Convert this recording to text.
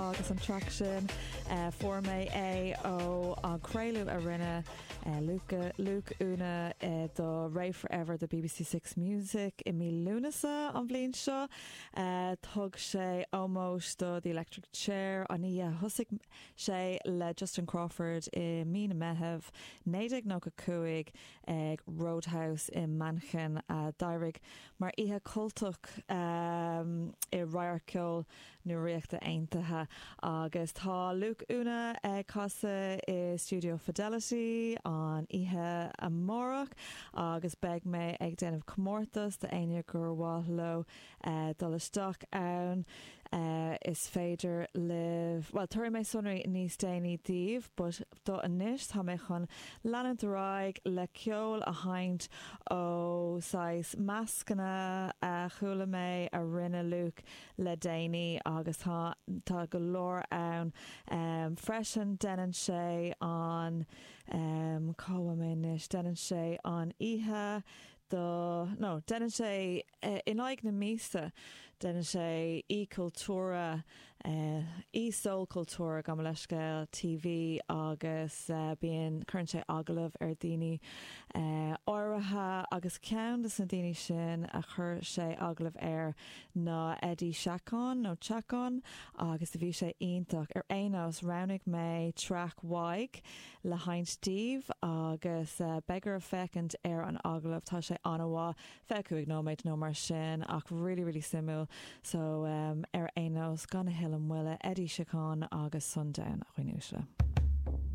agus an traic sin. Fuair mé é ó an craoladh a rinne Luke, Luke Una do Rave Forever do BBC 6 Music i mí Lúnasa an bhliain seo. Thug sé ómós do The Electric Chair an oíche a thosaigh sé le Justin Crawford i mí na Meitheamh 1995 ag Roadhouse i Manchain a d'éirigh mar oíche cultach i radharc ceoil na Ríochta Aontaithe. Agus tá Luke Una ag casadh i Stiúideo Fidelity an oíche amárach agus beidh mé ag déanamh comórtas d'éinne gur mhaith leo dul isteach ann. Is féidir libh, bhuel, tabharfaidh mé sonraí níos déanaí daoibh but do anois tá mé chun leanúint ar aghaidh le ceol a sheinnt ó saghas meascanna a chuala mé a rinne Luke le déanaí agus tá tá go leor ann freisin. Déanann sé an cá bhfuil mé anois? Déanann sé an oíche do no déanann sé in aghaidh na míosa déanann sé oíche cultúrtha Soul Cultúrtha gabh mo leithscéal TV agus bíonn cuireann sé agallamh ar daoine áirithe agus ceann de na daoine sin a chuir sé agallamh air ná Eddie Chacon nó Chacon agus do bhí sé iontach. Ar aon nós roghnaigh mé traic uaidh le sheinnt daoibh agus beidh oraibh féachaint ar an agallamh, tá sé an-mhaith, 25 nóiméad nó mar sin ach really really suimiúil so ar aon nós gan a thuilleadh moille Eddie Chacon agus Sundown a dhaoine uaisle.